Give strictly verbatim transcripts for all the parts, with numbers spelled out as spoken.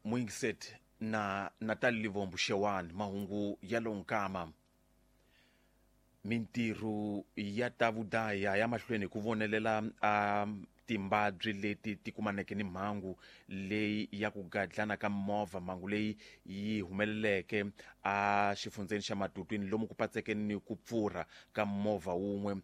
Muingiset na Natalie Livombo Xewani mahungu ya lonkama. Mintirho ya ta vudaya ya mahlweni ku vonelela a timbabyi leti ti kumaneke ni mhangu leyi ya ku gadlana ka movha, mhangu leyi yi humeleleke a xifundzeni xa Matutwini lomu ku patseke ni ku pfurha ka movha wun'we.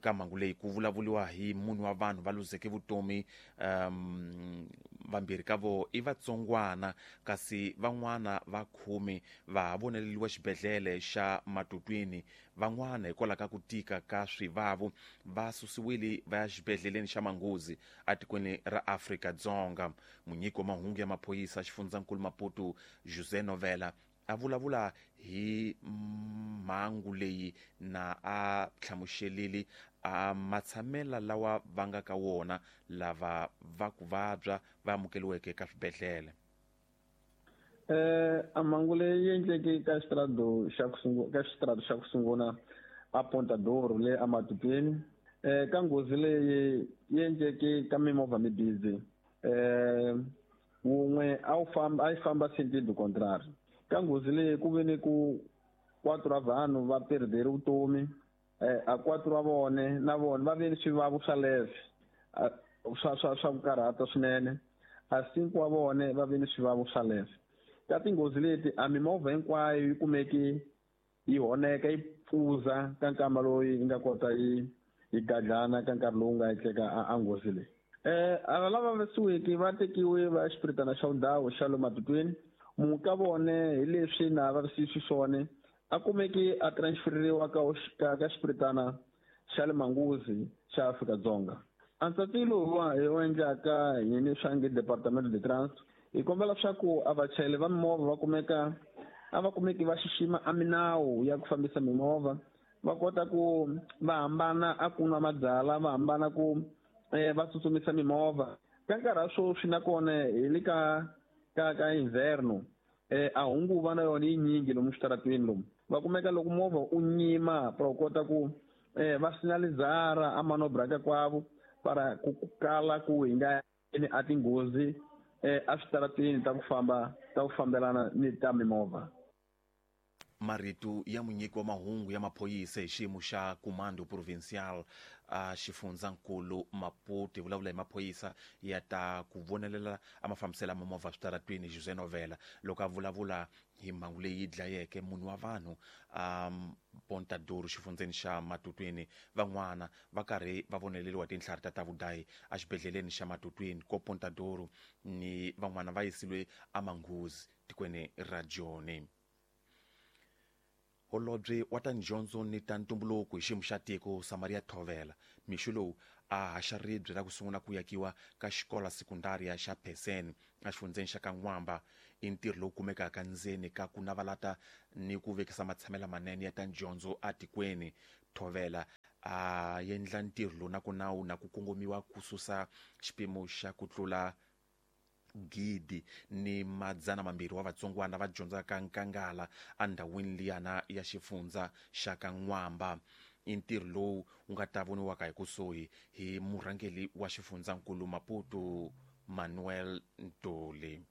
Ka mhangu leyi ku vulavuliwa hi munhu wa vanhu va luzeke vutomi, um vambirhi ka vo i vatsongwana kasi van'wana va khume va ha voneleliwa xibedhlele xa Matutwini. Van'wana hikwalaho ka ku tika ka swivavo va susiwile va ya xibedhleleni xa Manguzi etikweni ra Afrika-Dzonga. Munyiki wa mahungu ya maphorisa xifundzankulu Maputo José Novela a vulavula hi mhangu leyi na a hlamuselile a matshamela lawa va nga ka wona lava va ku vabya va amukeriweke ka swibedhlele. Eh a mhangu leyi endleke ka xitarado xa ku sungula ka xitarado xa ku sungula a Ponta d'Oro le aMatutwini. Eh ka nghozi leyi yi endleke ka mimovha mimbirhi, eh wun'we a wu famba a yi famba sentido contrario. Ka nghozi leyi ku ve ni ku quatro wa vanhu va perdere vutomi, eh a quatro wa vone na vona va ve ni swivavo swa leve swa swa swa ku karhata swinene, a cinco wa vone va ve ni swivavo swa leve. Ka tinghozi leti a mimovha hinkwayo yi kumeki yi honeka yi pfuza ka nkama loyi yi nga kota yi yi gadlana ka nkarhi lowu nga endleka a nghozi leyi. Eh ava lava vavisiweke va tekiwe va ya xipiritana xa ndhawu xa le Matutwini. Munhu ka vone hi leswi na vavisiwi xiswona a kumeki a transferiwa ka ka ka xipiritana xa le Manguzi xa Afrika-Dzonga. A ntsatilo wa hi wu endlaka hi ni swa nge Departamento de Trânsito, hi kombela leswaku a vachayeri va mimovha va kumeka a va kumeki va xixima a minawu ya ku fambisa mimovha, va kota ku va hambana a ku nwa mabyalwa, va hambana ku eh va tsutsumisa mimovha. Ka nkarhi wa sweswi nakona hi le ka ka ka inverno, eh a hunguva na yona yi nyingi lomu switarateni lomu. Va kumeka loko movha u nyima para u kota ku eh va sinalizara a manobra ka kwavo para ku kala ku hi nga a tinghozi eh a switarateni ta ku famba ta ku fambelana ni ta mimovha. Marito ya munyiki wa mahungu ya maphorisa hi xiyimo xa Comando Provincial a xifundzankulu Maputo, hi vulavula hi maphorisa ya ta ku vonelela a mafambiselo ya mimovha switaratwini José Novela loko a vulavula hi mhangu leyi dlayeke munhu wa vanhu a Ponta d'Oro xifundzeni xa Matutwini. Van'wana va karhi va voneleriwa tintlhari ta ta vudayi exibedhleleni xa Matutwini ko Ponta d'Oro, ni van'wana va yisiwe eManghuzi tikweni ra Joni. Holobye wa ta dyondzo ni ta ntumbuluko hi xiyimo xa tiko Samaria Thovela mixo lowu a haxa ribye ra ku sungula ku yakiwa ka xikola sekundaria xa Pheseni exifundzeni xa Kan'wamba. I ntirho lowu kumekaka ndzeni ka ku navalata ni ku vekisa matshamelo manene ya ta dyondzo etikweni. Thovela a endla ntirho lowu na ku nawu na ku kongomiwa ku susa xipimo xa ku tlula gidi ni madzana mambirhi wa vatsongwana va dyondzaka nkangala endhawini liyana ya xifundza xa Kan'wamba. I ntirho lowu wu nga ta voniwaka hi kusuhi hi murhangeri wa xifundzankulu Maputo Manuel Ntuli.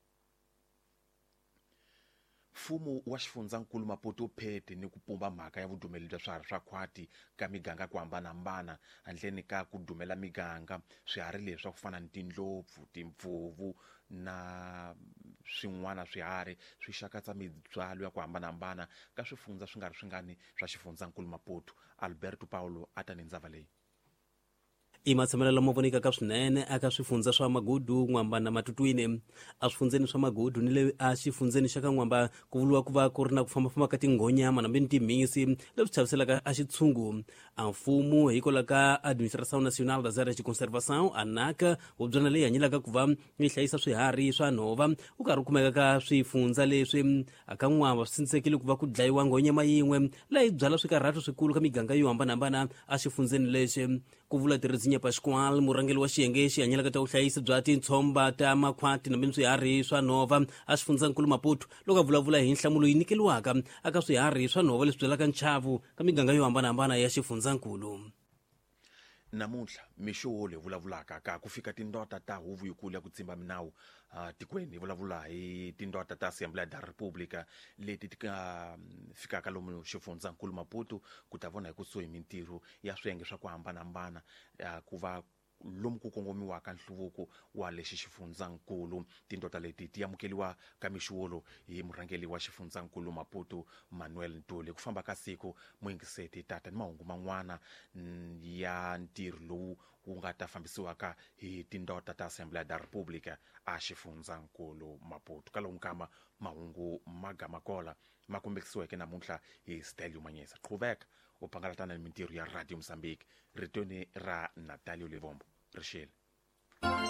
Mfumo wa xifundzankulu Maputo wu phete ni ku pumba mhaka ya vudumeli bya swiharhi swa khwati ka miganga ku hambanahambana handleni ka ku dumela miganga. Swiharhi leswi swa ku fana ni tindlopfu, timpfuvu na swin'wana swiharhi swi xakatsa mibyalo ya ku hambanahambana ka swifundza swi nga ri swingani swa xifundzankulu Maputo. Alberto Paulo a ta ni ndzava leyi. I matshamelo lama vonekaka swinene eka swifundza swa Magudu, N'wamba na Matutwini. Eswifundzeni swa Magudu ni le exifundzeni xa ka N'wamba ku vuriwa ku va ku ri na ku fambafamba ka tinghonyama nambe ni timhisi leswi chaviselaka a xitshungu. A mfumo hikwalaho ka Administração Nacional das Áreas de Conservação, ANAC, hubyana leyi hanyelaka ku va yi hlayisa swiharhi swa nhova wu karhi wu kumeka ka swifundza leswi. Aka N'wamba swi tshinisekile ku va ku dlayiwa nghonyama yin'we leyi byala swikarhato swikulu ka miganga yo hambanahambana exifundzeni lexi. Ku vula Terezinha Pascoal, murhangeri wa xiyenge xi hanyelaka ta vuhlayisi bya tintshomba ta makhwati nambe swiharhi swa nhova exifundzhankulu Maputo loko a vulavula hi nhlamulo yi nyikeriwaka eka swiharhi swa nhova leswi byalaka nchavu ka miganga yo hambanahambana ya xifundzankulu. Namuntlha mixo wo leyi vulavulaka ka ku fika tindota ta huvo yikulu ya ku tsimba minawu uh, tikweni hi vulavula hi tindota ta Assembleia da República leti ti nga fikaka lomu xifundzankulu Maputo ku ta vona hi kusuhi mintirho ya swiyenge swa ku hambanahambana uh, ku va lomu ku kongomiwaka nhluvuko wa lexi xifundzankulu. Tindota leti ti amukeliwa ka mixuwolo hi murhangeri wa xifundzankulu Maputo Manuel Ntuli. Ku famba ka siku muyingiseti tata ni mahungu man'wana ya ntirho lowu wu nga ta fambisiwaka hi tindota ta Assembleia da República a xifundzankulu Maputo. Ka lowu nkama mahungu magamakola ma kombekisiweke namuntlha hi Stelio Manyesa. Qhuveka u pangalatana ni mintirho ya Radio Mozambique. Ritweni ra Natalio Levombo rixile.